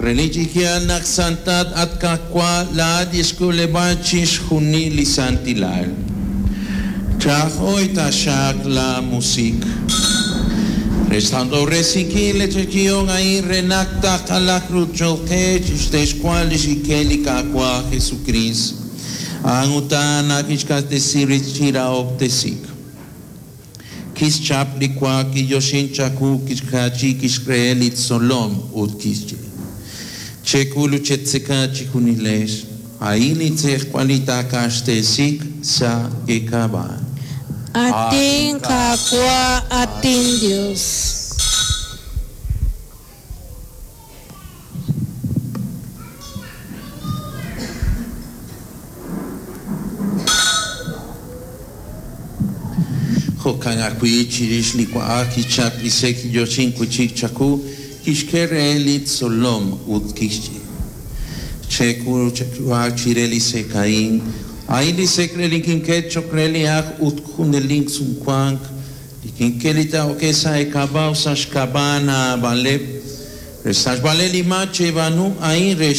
Relik chi yaal naq santat at Qaawa' laa'at li xk'uleb'aal chixjunil li santilal. Chahoy taxaq laamusiq' re xsantob'resinkil li yeechi'ihom a'in re naq taqalaq ru cho'q qe chi xtexwal li xkik'el li Qaawa' Jesukriist. A'an utan naq kixq'axtesi rib' chi rahob'tesiik. Kixchap li wa, kiyoxink chawu, kixjaachi, kixk'e li tzolom ut kixye: Chek'ul ut chetzeka chejunilex, a'in li tz'ejwal li taaq'axtesiiq sa' eek'ab'a'. Atin Qaawa', atin Dios. Jo'kan ajwi' chirix li wa'ak kichap li sek' kiyoxink wi' chik chawu, kixk'e re li tzolom ut kixye: Chek'ul ut chek'uhaq chire li sek' a'in, a'in li sek' re li kink'e cho'q re li ak ut junelik sumwank, li kink'e li taa'oke sa' eek'ab'a' ut sa' xk'ab'a' naab'aleb'. Re xsachb'aleb' li maak cheb'aanu a'in re.